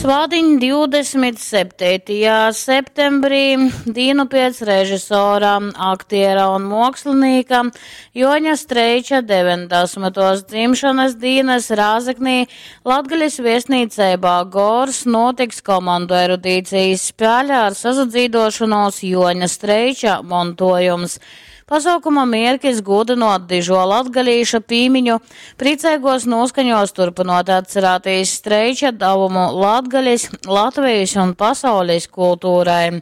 Svātdiņ 27. Septembrī, dīnu piec režisora, aktiera un muokslinīka Juoņa Streiča 90. Dzimšanas dīnys Rāzeknī Latgalis viestnīceibā Gors nūtiks komandu erudīcijas spēle ar sasadzīduošonūs Juoņa Streiča montuojums. Pasuokuma mierkis gūdynuot dižuo latgalīša pīmiņu, prīceiguos nūskaņuos turpynuot atcerātīs Streiča davumu Latgalis, Latvejis un pasaulis kulturai.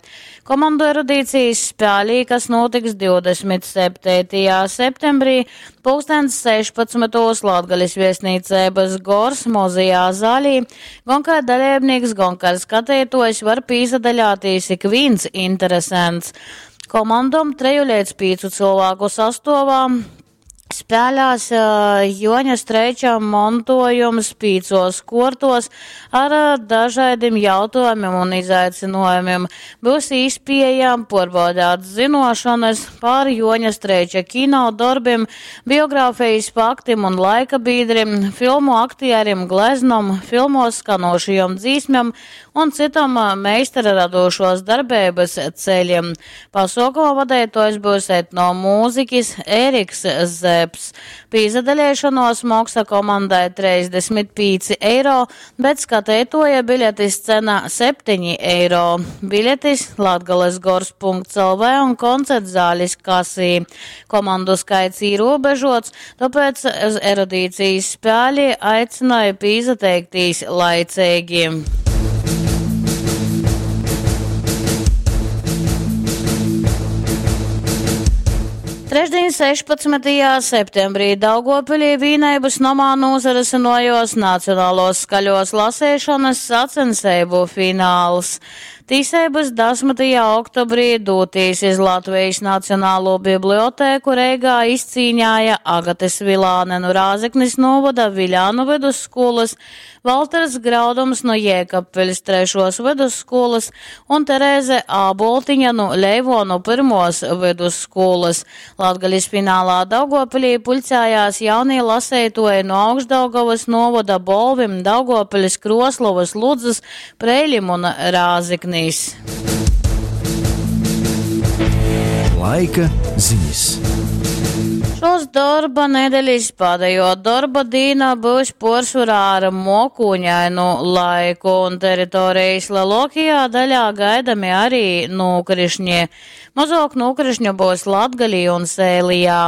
Komandu erudīcijas spēlī, kas nūtiks 27. Septembrī, pulkstens 16. Latgalis viestnīceibys Gors mozajā zālī, gon kai daleibnīks, gon kai skateituojs var pīsadaļātīs ikvīns interesents. Komandom treju leidz pīcu cylvāku sastuovā spēlēs Juoņa Streiča montuojums pīcuos kuortuos ar dažaidim jautuojumim un izaicynuojumim. Byus īspieja puorbaudeit zynuošonys par Juoņa Streiča kino dorbim, biografejis faktim un laika bīdrim, filmu aktierim, gleznom, filmuos skanūšajom dzīsmem un cytom meistara radūšuos darbeibys ceļim. Pasuokuma vadeituojs byus etnomūzikis Ēriks Zeps. Pīsadaleišonuos moksa komandai 35 eiro, bet skateituoja biļetis cena 7 eiro. Biļetis Latgales gors.lv un koncertzālis kasī. Komandu skaits īrūbežots, tōpēc uz erudīcijas spēli aicināja pīsateiktīs laiceigi. Trešdiņ 16. Septembrī Daugovpilī Vīneibys nomā nūsarysynuojuos Nacionaluos skaļuos laseišonys sacenseibu finals. Tīseibys dasmytajā oktobrī dūtīs iz Latvejis Nacionalū biblioteku Reigā izcīnēja Agate Svilāne nu Rāzeknis nūvoda Viļānu vydusskūlys, Valters Graudums nu Jēkabpiļs trešuos vydusskūlys un Terēze Āboltiņa nu Leivuonu pyrmuos vydusskūlys. Latgalis finālā Daugovpilī puļcējās jaunī laseituoji nu Augšdaugovys nūvoda Bolvim, Daugovpiļs, Kruoslovys, Ludzys, Preilim un Rāzeknis. Laika zinis. Šos dorba nedelis pādejuo dorba dīna byus puorsvorā ar muokūņainu laiku, un teritorejis leluokajā daļā gaidami ari nūkrišņi. Mozuok nūkrišņu byus Latgalī un Sēlijā.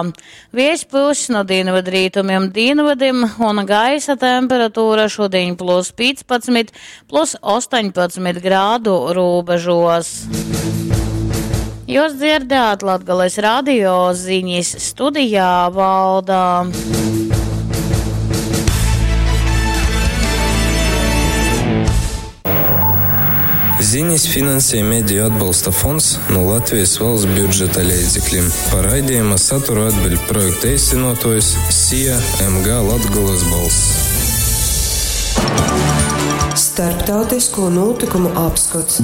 Viejs pyuss nu dīnvydrītumim dīnvydim, un gaisa temperatūra šudiņ plus 15, plus 18 grādu rūbežuos. Jūs dzirdējāt Latgales radio ziņas studijā Valda. Ziņas finansē Mediju atbalsta fonds no Latvijas valsts budžeta leidzekļiem. Par raidījuma saturu atbild projekta īstenotājs SIA MG Latgolas balss. Starptautisko notikumu apskats.